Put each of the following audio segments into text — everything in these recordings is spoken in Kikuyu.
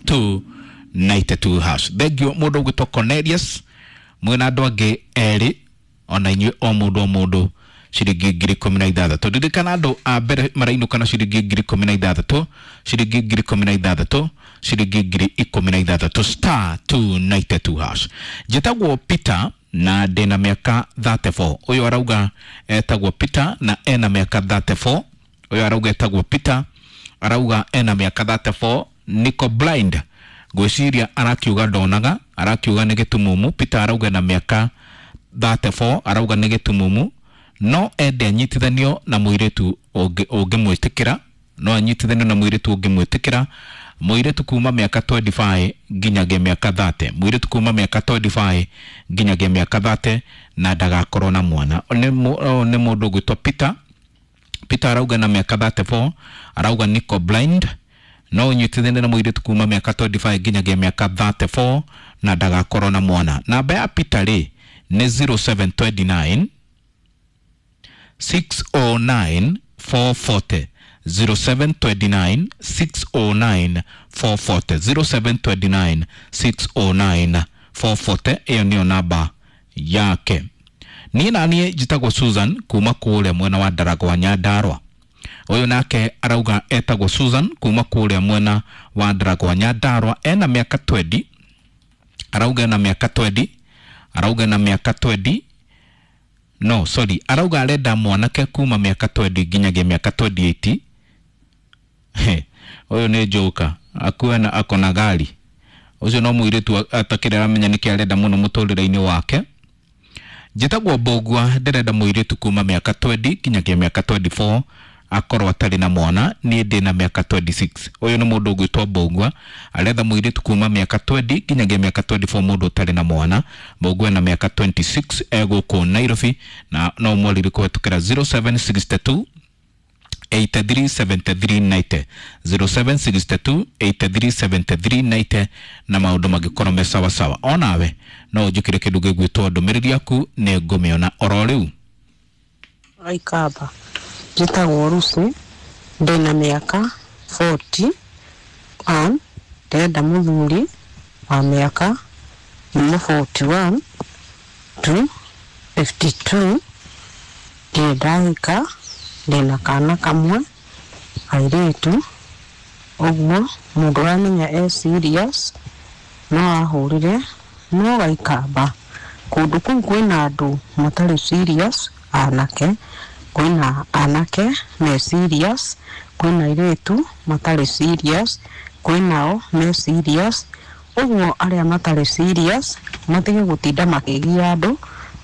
*292 hash. Thank you mũndũ ũgwĩtwo Cornelius mwĩna andũ angĩ erĩ ona inyuĩ o mũndũ o mũndũ ciringi 16,000. Ririkana andũ a mbere marainũka na ciringi 16,000, ciringi 16,000, ciringi 16,000, *292 hash. Njĩtagwo Peter na ndĩna mĩaka 34. Ũyũ arauga etagwo Peter na ena mĩaka 34. Ũyũ arauga etagwo Peter, arauga ena mĩaka 34. Niko blind, ngwĩciria arakiuga ndonaga, arakiuga nĩ gĩtumumu. Peter arauga na mĩaka 34, arauga nĩ gĩtumumu, no ende anyitithanio na mũirĩtu ũngĩmwĩtĩkĩra, no anyitithanio na mũirĩtu ũngĩmwĩtĩkĩra, mũirĩtu kuma mĩaka 25 nginyagia mĩaka 30, mũirĩtu kuma mĩaka 25 nginyagia mĩaka 30, na ndagakorwo na mwana. Nĩ mũndũ ũgwĩtwo Peter. Peter arauga na mĩaka 34, arauga niko blind, no ũnyitithanie na mũirĩtu kuma mĩaka 25 nginyagia mĩaka 34 na ndagakorwo na mwana. Namba ya Peter rĩ nĩ 0729 609 440, 0729 609 440, 0729 609 440. Ĩyo nĩyo namba yake. Niĩ naniĩ njĩtagwo Susan kuma kũrĩa mwena wa Ndaragwa Nyandarua. Ũyũ nake arauga etagwo Susan kuma kũrĩa mwena wa Ndaragwa Nyandarua, ena mĩaka 20, arauga ena mĩaka 20, arauga ena mĩaka 20, no sorry, arauga arenda mwanake kuma mĩaka 20 nginyagia mĩaka 28. Ũyũ nĩ njoka akuwe na akona gari. Ũcio no mũirĩtu atakĩrĩ aramenya nĩkĩ arenda mũno mũtũrĩre-inĩ wake. Njĩtagwo Mbũgua, ndĩrenda mũirĩtu kuma mĩaka 20 nginyagia mĩaka 24, akorwo atarĩ na mwana. Niĩ ndĩ na mĩaka 26. Ũyũ nĩ mũndũ ũgwĩtwo Mbũgua, aretha mũirĩtu kuma mĩaka 20 nginyagia mĩaka 24, mũndũ ũtarĩ na mwana. Mbũgua ena mĩaka 26, egũkũ Nairobi, na no mwarĩrie kũhetũkĩra 0762 837390, 0762 837390, na maũndũ mangĩkorwo me sawa sawa. Onawe no ũnjĩkĩre kĩndũ gĩgwĩtwo ndũmĩrĩri yaku, nĩ ngũmĩona oro rĩu. Aikamba, njĩtagwo Lucy, ndĩna mĩaka 41, ndĩrenda mũthuri wa mĩaka kuma 41 to 52, ndirĩ ndahika, ndĩna kana kamwe kairĩtu, ũguo mũndũ ũramenya e serious no ahũrĩre, no gaikamba kũndũ kũu kwĩna andũ matarĩ serious anake, kwĩna anake me serious, kwĩna airĩtu matarĩ serious, kwĩnao me serious, ũguo arĩa matarĩ serious matige gũtinda makĩgia andũ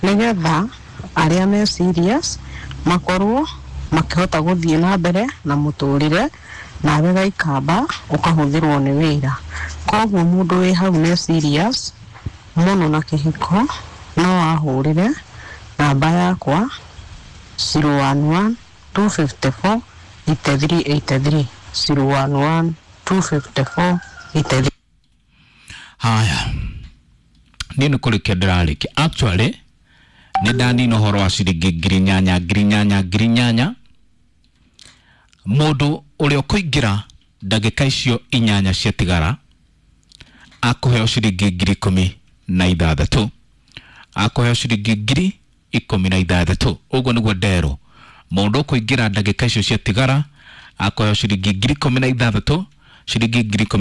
nĩgetha arĩa me serious makorwo makĩhota gũthiĩ na mbere na mũtũrĩre, nawe gaikamba ũkahũthĩrwo nĩ wĩra. Koguo mũndũ wĩ hau nĩ serious mũno na kĩhiko no ahũrĩre namba yakwa 011 254 8383, 011 254 83. Haya, niĩ nĩ kũrĩkia ndĩrarĩkia. Actually nĩ ndanina ũhoro wa ciringi 8,000, 8,000, 8,000. Mũndũ ũrĩa ũkũingĩra ndagĩka icio 8 ciatigara akũheo ciringi 16,000, akũheo ciringi 16,000. Ũguo nĩguo nderwo. Mũndũ ũkũingĩra ndagĩka icio ciatigara akũheo ciringi 16,000, ciringi 10,000.